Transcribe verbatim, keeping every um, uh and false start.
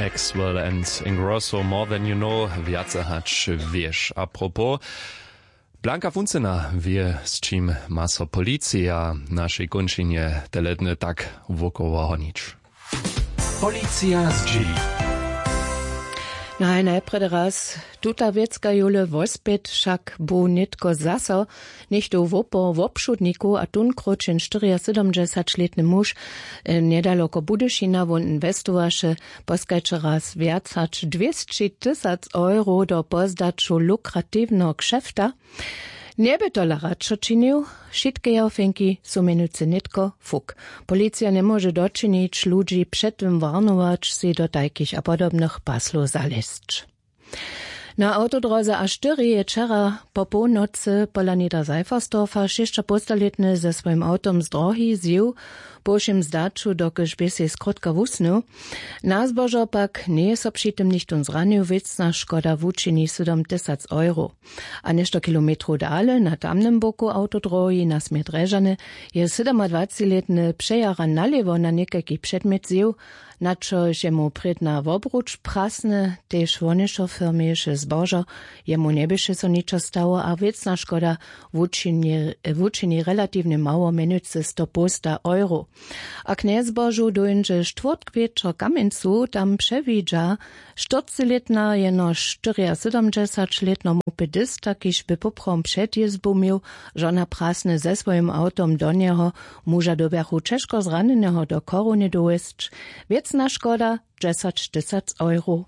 Axwell and Ingrosso, more than you know. Wjace hač wěš. Apropos, Blanka Funcyna wě, z čim ma so policija w našej kónčinje tele dny tak wokoło honić. Policija zdźěli. Naj najprjedy raz tuta wěcka jóle wospět, wšak bu nětko zaso něchtó wopor wobšudnikow a tunkrótšenštyriasydomdźesaćlětny muž, e, njedaloko Budyšina wón inwestowaše, poskajće raz wjac hač dwěsći tysac euro do pozdaću lukratiwneho kšefta. Njeby tola radšo činił. Wšitke jeho fenki su mjenujcy nětko fuk. Policija njemóže dočinić, ludźi před tym warnować, sej do tajkich a podobnych paslow zalězć. Na awtodróze a štyri je wčera po połnocy pola niederseifersdorfa šěsćapołstalětny ze swojim awtom z drohi zjěł, po wšěm zdaću dokelž bě sej skrótka wusnył. Na zbožo pak njeje so při tym nichtón zranił. Wěcna škoda wučini sydom tysac euro. A něšto kilometrow dale na tamnym boku awtodróhi na směr drježany je sydomadwacećilětny přejara nalěwo na někajki předmjet zjěł, na čož je mu prědna wobruč prasny. Tež wonešo firmješe zbožo. Jemu njeběše so ničo stało a wěcna škoda wučini relatiwnje mało, mjenujcy stopołsta euro. A k njezbožu dóńdźe štwórtk wječor w kamjencu, tam přewidźa štyrcylětna jenož štyriasydomdźesaćlětnomu pedista kiž by poprawom před jězbu měł žona prasny ze swojim awtom do njeho. Muža dyrbjachu ćežko zranjeneho do chorownje dowjesć. Wěcna škoda dźesaćtysac euro.